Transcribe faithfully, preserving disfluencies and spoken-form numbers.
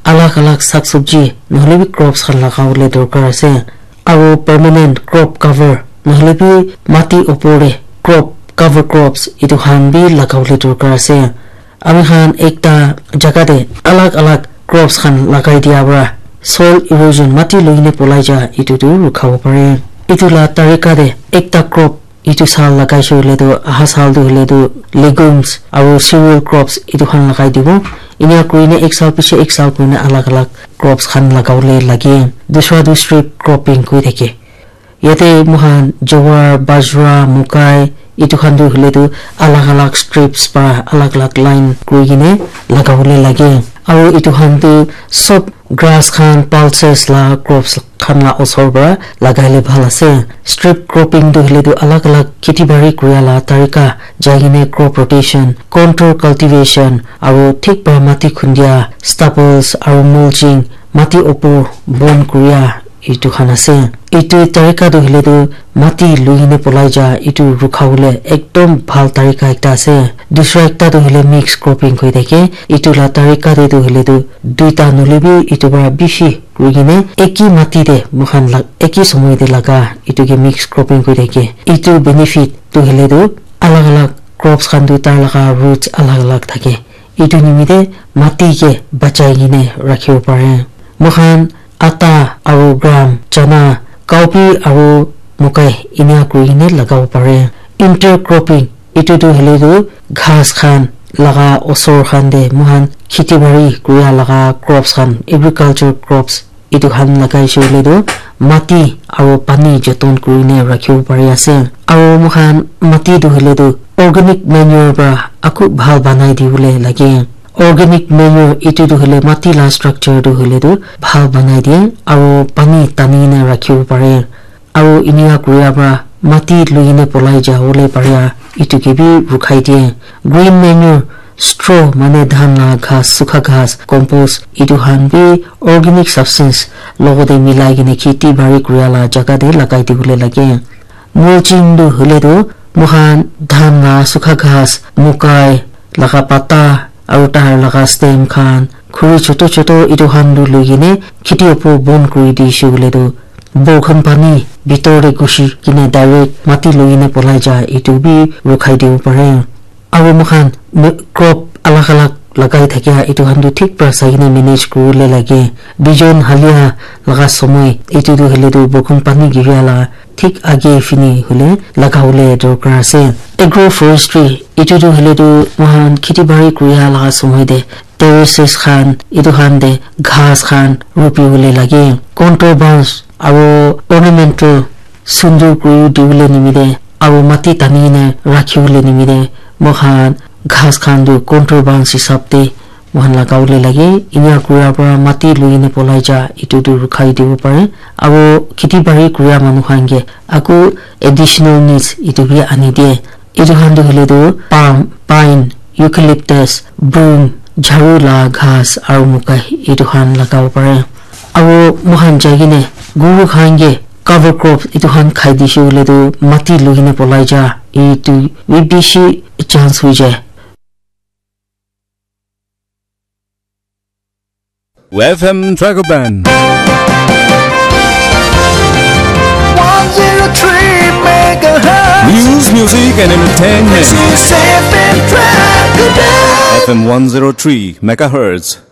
Alag alag sak sabji nohole bi crops khan lagawole dorkar ase. Aro permanent crop cover nohole bi mati opor te crop cover crops etu khan bi lagawole dorkar ase. Ami khan ekta jaga te alag alag crops khan lagai dia para soil erosion, mati loi kene polai ja, etu tu rukhabo pare. Etu la tarika te ekta crop etu saal lagai se hoile tu, aha saal tu hoile tu legumes aro cereal crops etu khan lagai dibo. Enia kuri kene ek saal piche ek saal kuri kene alag alag crops khan lagawole lage. Dusra tu strip cropping koi thake. Yate moikhan jowar, bajra, mokai, etu khan tu hoile tu alag alag strips para alag alag line kuri kene lagawole lage. Aro etu khan tu sob grass khan, pulses la crops khan la osor para lagai le bhal ase. Strip cropping tu hoile tu alag alag kheti bari kuria la tarika, jai kene crop rotation, contour cultivation, aro thik para mati khundia, stubbles aro mulching, mati opor bon kuria, etu khan ase. Etu tarika tu hoile tu mati loi kene polai ja, etu rukhawole ekdom bhal tarika ekta ase. Dusra ekta tu hoile mix cropping koi thake. Etu la tarika te tu hoile tu duita nohole bi etu para bishi kuri kene eki mati te moikhan la-, eki somoy te laga etu ke mix cropping koi thake. Etu benefit tu hoile tu alag alag crops khan tu tar laga roots alag alag thake. Etu nimite mati ke bachai kene rakhibo pare. Moikhan atta aro gram, chana, cowpea aro mokai enia kuri kene lagabo pare. Intercropping, etu tu hoile tu ghas khan laga osor khan te moikhan kheti bari kuria laga crops khan, agriculture crops, etu khan lagai se hoile tu mati aro pani joton kuri kene rakhibo pari ase. Aro moikhan mati tu hoile tu organic manure para aku bhal banai dibole lage. Organic manure etu tu hoile mati la structure tu hoile tu bhal banai die aro pani tani kene rakhibo pare. Aro enia kuria para mati loi kene polai jawole paria etu ke bi rukhai die. Green manure, straw mane dhan la ghas, sukha ghas, compost, etu khan bi organic substance logote milai kene kheti bari kuria la jaga te lagai dibole lage. Mulching tu hoile tu moikhan dhan la sukha ghas, mokai laga pata, aro tar laga stem khan, khuri choto choto etu khan tu loi kene kheti opor bon kuri dise hoile tu, borkhan pani bitor te ghusi kene direct mati loi kene polai ja, etu bi rukhai dibo pare. Aro moikhan me-, crop alag alag lagai thakia etu khan tu thik para sai kene manage kuribole lage. Bijon halia laga somoy etu tu hoile tu borkhan pani giria la thik age phine hoile lagabole dorkar ase. Agroforestry, etu tu hoile tu moikhan kheti bari kuria laga somoy te terraces khan, etu khan te ghas khan rupi bole lage. Contour bunch aro ornamental sundur kuri dibole nimite aro mati tani kene rakhi bole nimite moikhan ghas khan tu contour bunch hisab te moikhan lagabole lage. Enia kura para mati loi kene polai ja, etu tu rukhai dibo pare. Aro kheti bari kura manu khan ke aku additional needs etu bi ani die. Etu khan tu hoile tu palm, pine, eucalyptus, broom, jharu la ghas aro mokai etu khan lagabo pare. Aro moikhan jai kene guru khan ke cover crop etu khan khai dise hoile tu mati loi kene polai ja, etu bi bishi chance hoi jai. F M Dragoban. One zero three megahertz. News, music, and entertainment. This is F M Dragoban. F M one zero three megahertz.